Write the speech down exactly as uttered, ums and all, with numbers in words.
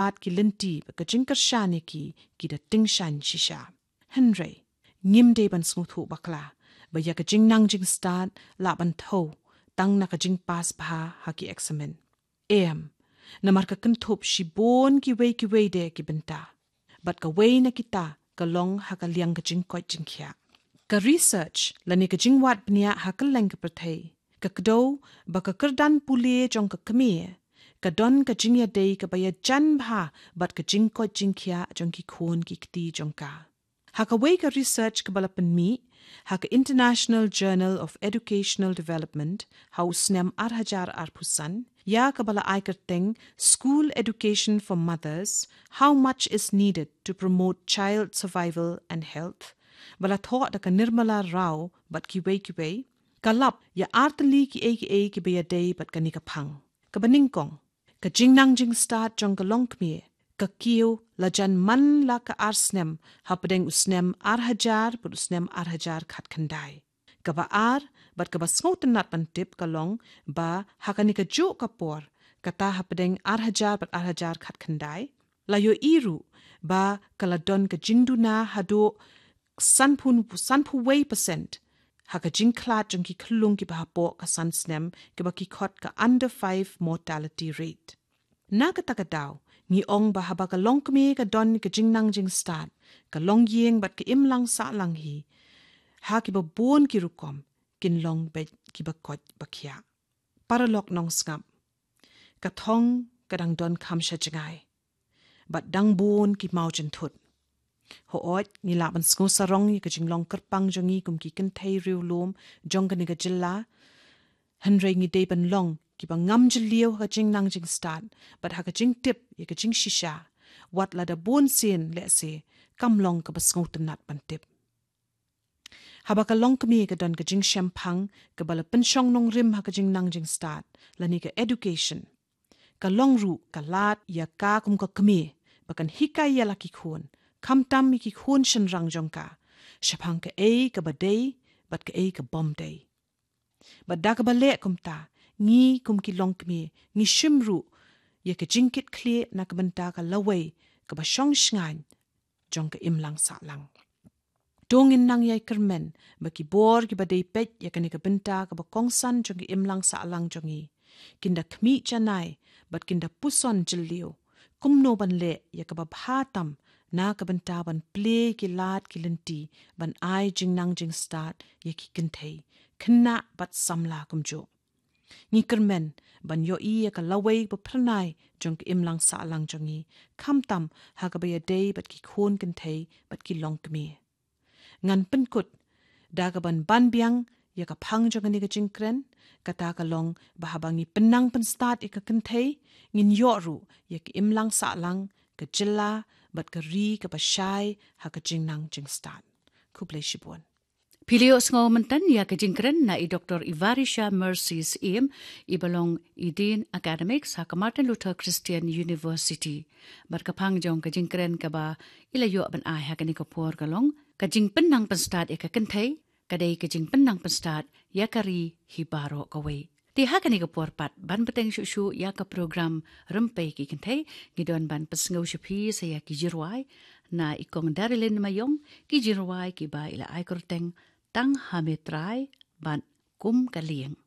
lad ki lynti ba ka jingkyrshan ïa ki, ki da tyngshaiñ shisha. Hynrei ngim dei ban sngewthuh bakla ba ïa ka jingnang jingstad lah ban thew tang na ka jingpass bha ha ki eksamin. Em, namar ka kynthup shibun kiwei kiwei de ki bynta. Bad kawei na kita ka long ha ka liang ka jingkoit jingkhiah. Ka research lane ka jingwad bniah ha kylleng ka pyrthei ka kdew ba ka kyrdan pule jong ka kmie ka don ka jingïadei kaba ïajan bha bad ka jingkoit jingkhiah jong ki khun ki kti jong ka. Ha kawei ka research kaba la pynmih ha ka International Journal of Educational Development ha u snem ar hajar arphew san, ïa kaba la ai kyrteng School Education for Mothers: How Much Is Needed to Promote Child Survival and Health, ba la thoh da ka Nirmala Rao bad kiwei kiwei, ka lap ïa artylli kiei kiei kiba ïadei bad kane ka phang. Kaba nyngkong, ka jingnang jingstad jong ka longkmie ka kiew la jan man la ka ar snem, hapdeng u snem ar hajar bad u snem ar hajar khatkhyndai. Kaba ar bad kaba sngewtynnat ban tip ka long ba ha kane kajuh ka por, kata hapdeng ar hajar bad ar hajar khatkhyndai, la ïohi ruh ba ka la don ka jingduna haduh sanphew, sanphew wei percent ha ka jingkhlad jong ki khyllung kiba hapoh ka san snem, kiba ki khot ka under five mortality rate. Na kata ka daw, ngi ong ba haba ka longkmie ka don ka jingnang jingstad, ka longïing bad ka imlang sahlang hi ha kiba bun ki rukom kin long beit kiba koit ba khiah. Paralok nongsngap, ka thong ka dang don kham sha jngai bad dang bun ki maw jynthut. Hooid, ngi lah ban sngewsarong ïa ka jinglong kyrpang jong ngi kum ki kynthei riewlum jong kane ka jylla, hynrei ngi dei ban long kiba ngam jylliew ha ka jingnang jingstad bad ha ka jingtip ïa ka jingshisha, wat lada bun sien lehse kam long kaba sngewtynnat ban tip. Haba ka longkmie ka don ka jingshemphang kaba la pynshong nongrim ha ka jingnang jingstad lane ka education, ka long ruh ka lad ïa ka kum ka kmie ba kan hikai ïa la ki khun, khamtam ïa ki khun shynrang jong ka, shaphang kaei kaba dei bad kaei ka bym dei. Bad da kaba leh kumta, ngi kum ki longkmie ngi shim ruh ïa ka jingkitkhlieh na ka bynta ka lawei kaba shong shngaiñ jong ka imlang sahlang. To ngin nang ïai kyrmen ba ki bor kiba dei peit ïa kane ka bynta kaba kongsan jong ka imlang sahlang jong ngi kin da khmih janai bad kin da puson jylliew kumno ban leh ïa kaba bha tam na ka bynta ban plie ki lad ki lynti ban ai jingnang jingstad ïa ki kynthei, khynnah bad samla kumjuh. Ngi kyrmen ban ïohi ïa ka lawei ba phyrnai jong ka imlang sahlang jong ngi, khamtam ha kaba ïadei bad ki khun kynthei bad ki longkmie. Ngan pynkut da kaban ban biang ïa ka phang jong kane ka jingkren, kata ka long ba haba ngi pynnang pynstad ïa ka kynthei, ngin ïoh ruh ïa ka imlang sahlang, ka jylla bad ka ri kaba shai ha ka jingnang jingstad. Khublei shibun. Phi la ïohsngew mynta ïa ka jingkren na i Doktor Ivarisha Mercy Syiem, iba long i Dean Academics ha ka Martin Luther Christian University. Bad ka phang jong ka jingkren kaba i la ïoh ban ai ha kane ka por ka long: Ka jingpynnang pynstad ïa ka kynthei ka dei ka jingpynnang pynstad ïa ka ri hi baroh kawei. Te ha kane ka por pat, ban bteng shuh shuh ïa ka program Rympei ki Kynthei, ngi don ban pynsngew sha phi sa ïa ki jingrwai na i Kong Darilyn Mayong, ki jingrwai kiba i la ai kyrteng Tang Ha Me Trai bad Kum Ka Lieng.